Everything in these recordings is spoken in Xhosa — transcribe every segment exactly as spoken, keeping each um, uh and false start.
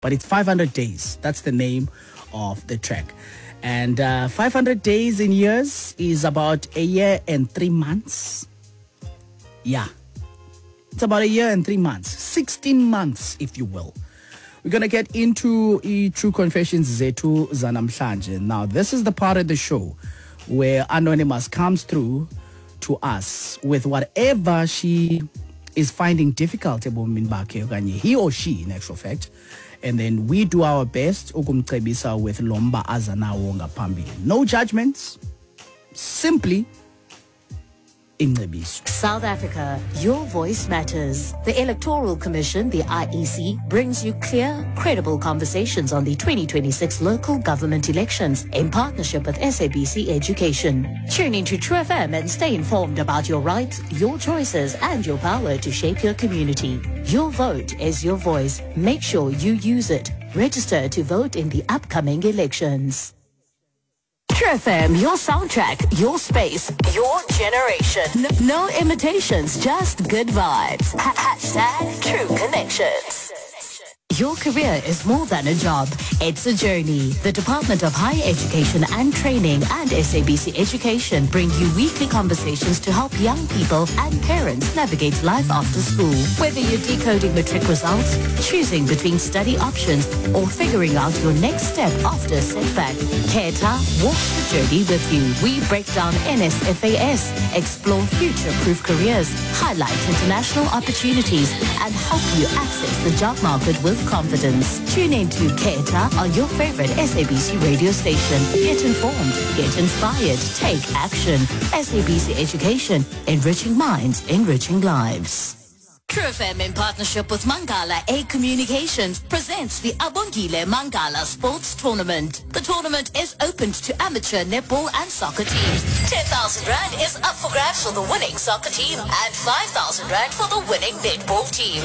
But it's five hundred Days. That's the name of the track. And uh, five hundred days in years is about a year and three months. Yeah. It's about a year and three months. sixteen months, if you will. We're going to get into i-True Confessions zethu zanamhlanje. Now, this is the part of the show where Anonymous comes through to us with whatever she is finding difficult ebomini bakhe, okanye he or she, in actual fact, and then we do our best ukumcebisa with lomba aza nawo ngaphambili. No judgments, simply ingcebiso. South Africa, your voice matters. The Electoral Commission, the I E C, brings you clear, credible conversations on the twenty twenty-six local government elections in partnership with S A B C Education. Tune into True F M and stay informed about your rights, your choices, and your power to shape your community. Your vote is your voice. Make sure you use it. Register to vote in the upcoming elections. True F M, your soundtrack, your space, your generation. No, no imitations, just good vibes. Ha- hashtag True Connections. Your career is more than a job. It's a journey. The Department of Higher Education and Training and S A B C Education bring you weekly conversations to help young people and parents navigate life after school. Whether you're decoding matric results, choosing between study options, or figuring out your next step after a setback, Khetha walks the journey with you. We break down N S F A S, explore future-proof careers, highlight international opportunities, and help you access the job market with confidence. Tune in to Khetha on your favorite S A B C radio station. Get informed, get inspired, take action. S A B C Education, enriching minds, enriching lives. True F M, in partnership with Mangala A Communications, presents the Abongile Mangala Sports Tournament. The tournament is open to amateur netball and soccer teams. ten thousand rand is up for grabs for the winning soccer team and five thousand rand for the winning netball team.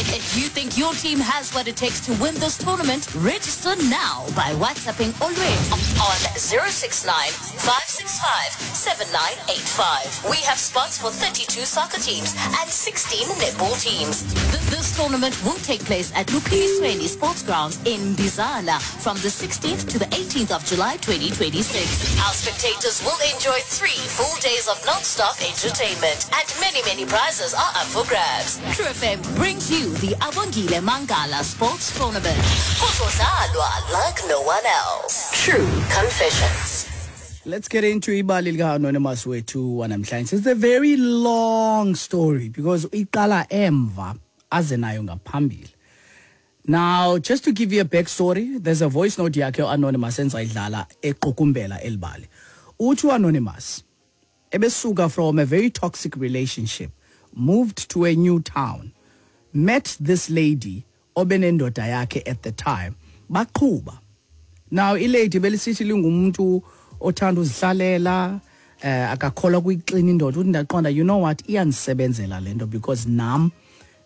If you think your team has what it takes to win this tournament, register now by WhatsApping Olwethu on zero six nine five six five seven nine eight five. We have spots for thirty-two soccer teams and sixteen netball teams. Th- This tournament will take place at Luphilisweni Sports Grounds in Bizana from the sixteenth to the eighteenth of July twenty twenty-six. Our spectators will enjoy three full days of non-stop entertainment, and many, many prizes are up for grabs. True F M brings you the Abongile Mangala Sports Tournament. Kuzodlalwa like no one else. True Confessions. Let's get into ibali lika-Anonymous wethu wanamhlanje. It's a very long story because iqala emva aze nayo ngaphambili. Now, just to give you a backstory, there's a voice note yakhe Anonymous enzayidlala equkumbela elibali. Uthi Anonymous ebesuka from a very toxic relationship, moved to a new town, met this lady obenendoda yakhe at the time, baqhuba. Now, ilady belisithi lingumuntu othanda uzihlalela, eh akakholwa kuyixina indoda. Uthi, "Ndaqonda, you know what, iyandisebenzela lento because nam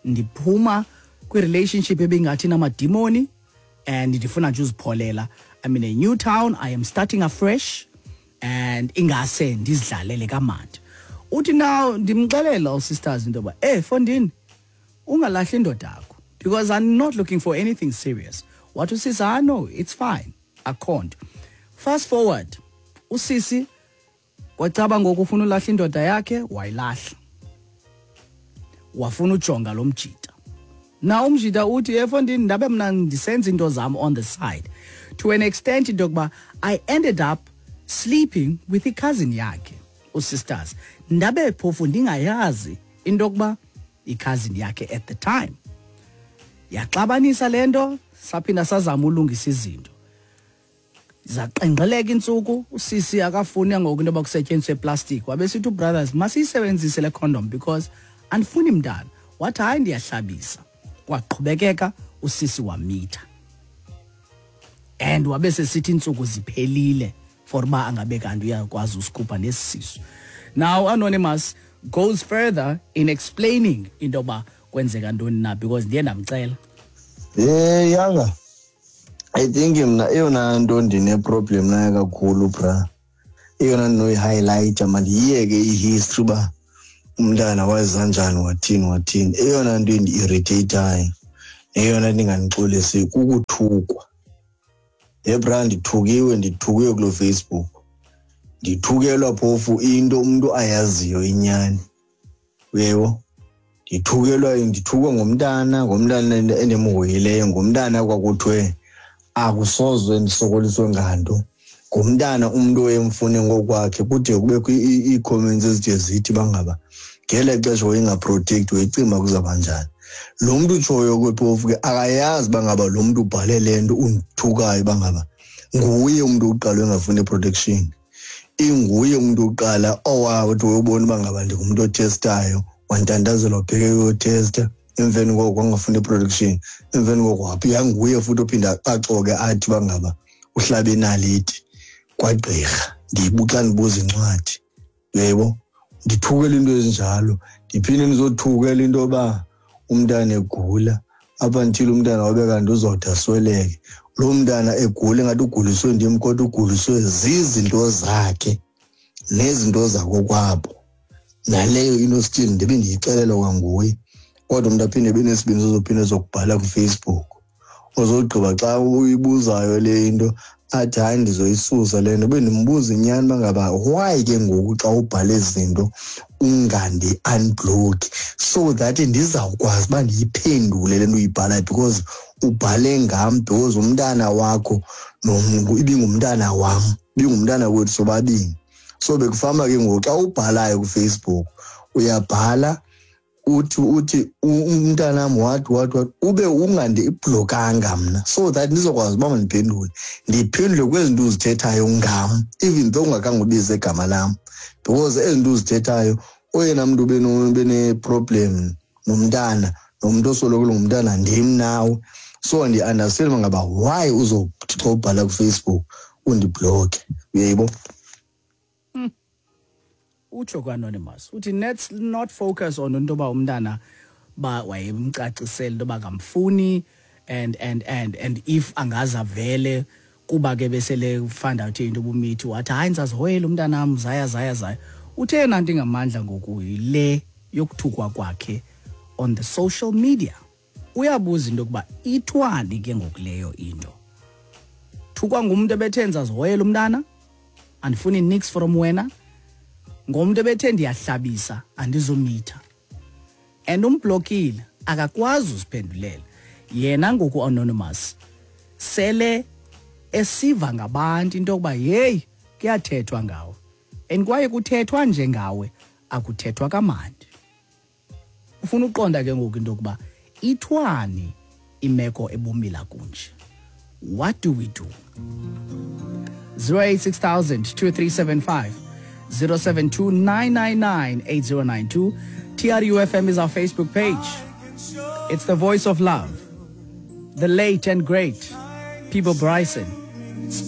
ndiphuma kwi-relationship ebingathi namadimoni and ndifuna nje uzipholela. I'm in a new town, I am starting afresh and ingase ndizidlalele kamandi." Uthi now ndimxelela usisters into yoba, "Eh fondini, ungalahli indoda yakho because I'm not looking for anything serious." Wathi usisi, "Ah, no, it's fine, akho nto." Fast forward, usisi kwacaba ngoku ufuna ulahla indoda yakhe, wayilahla, wafuna ujonga lo mjita. Na umjita uthi, "Efondini, ndabe mna ndisenza into zam on the side to an extent into yokuba I ended up sleeping with i-cousin yakhe usisters, ndabe phofu ndingayazi into yokuba i-cousin yakhe at the time." Yaxabanisa le nto, saphinda sazama ulungisa izinto, zaqengqeleka intsuku. Usisi akafuni ngoku into yoba kusetyenziswe iplastic, wabe sithi, "Brothers, masiyisebenzise le condom because andifuni mntana." Wathi, "Hayi, ndiyahlabisa." Kwaqhubekeka, usisi wamitha and wabe sesithi iintsuku ziphelile for uba angabe kanti uyakwazi usikhupha nesi sisu. Now Anonymous goes further in explaining into yoba kwenzeka ntoni na, because ndiye ndamcela. Eh yanga, I think mna eyona nto ndine-problem nayo kakhulu, bra, eyona ndinoyi-highlighta, mandiyiyeke i-history uba umntana waza njani, wathini wathini, eyona nto indi-irritate-ayo Eyona nto ingandixolisi kukuthukwa. Ye bra, ndithukiwe, ndithukiwe kuloo Facebook. Ndithukelwa phofu into umntu ayaziyo inyani. Uyebo? Ndithukelwa, ndithukwa ngumntana, ngumntana endimhoyileyo, ngumntana kwakuthiwe akusozwe ndisokoliswe nganto. Ngumntana umntu oyemfune ngokwakhe, kude kubekho ii-comments ezide zithi bangaba ngele xesha wayengaprotect, wayecimba kuzawuba njani. Lo mntu utshoyo ke phofu ke akayazi uba ngaba lo mntu ubhale le nto undithukayo uba ngaba nguye umntu wokuqala engafuni protection. Inguye umntu wokuqala owathi wayobona uba ngaba ndingumntu otestayo, wantandazela wabheke uyotesta, emveni koko wangafuni protection, emveni koko waphi nguye futhi ophinda axoke athi uba ngaba uhlabe inaliti kwagqirha. Ndiyibuxa ndibuza incwadi, uyaybo? Ndithukela into ezinjalo, ndiphinde ndizothukela into yoba umntana egula, up until umntana wabe kanti uzawude asweleke. Loo mntana egula ingathi uguliswe ndim, kodwa uguliswe zizinto zakhe nezinto zakokwabo. Naleyo into still ndibe ndiyixelelwa kwanguye, kodwa umntu aphinde ebe nesibindi sozophinde ezokubhala kuFacebook. Ozogqiba xa uyibuzayo le into athi hayi ndizoyisusa le nto. Bendimbuza inyani uba ngaba why ke ngoku xa ubhale ezi zinto ungandi-unblock so that ndizawukwazi uba ndiyiphendule le nto uyibhalayo, because ubhale ngam, because umntana wakho ibingumntana wam, ibingumntana wethu sobabini. So bekufama ke ngoku xa ubhalayo kuFacebook uyabhala uthi uthi umntanam wathi wathi wathi ube ungandiblokanga mna so that ndizokwazi uba mandiphendule, ndiphendule kwezi zinto uzithethayo ngam, even though ungakhange ubize igama lam, because ezi zinto uzithethayo oyena mntu bene-problem nomntana nomntu osoloko ngumntana ndim nawe. So ndi-understand uba ngaba why uzothi xa ubhala kuFacebook undibhlokhe, uyayibo? Utsho ku-Anonymous uthi let's not focus on into yoba umntana ba wayemcacisela into yoba kamfuni and and and and if angaze avele kuba ke besele find out into ubumithi wathi hayi ndizazihoyela umntanam, zaya zaya zaya. Uthe yena nto ingamandla ngoku yile yokuthukwa kwakhe on the social media. Uyabuza into yokuba ithwani ke ngoku leyo into. Thukwa ngumntu ebethe ndizazihoyela umntana, andifuni niks from wena, ngomntu ebethe ndiyahlabisa andizomitha. And umblokile akakwazi uziphendulela. Yena ngoku Anonymous sele esiva ngabantu into yokuba hey kuyathethwa ngawe, and kwaye kuthethwa nje ngawe, akuthethwa kamandi. Ufuna uqonda ke ngoku into yokuba ithwani imeko ebumila kunje. What do we do? zero eight six thousand two three seven five, zero seven two nine nine nine eight zero nine two. T R U F M is our Facebook page. It's the voice of love, the late and great Peabo Bryson.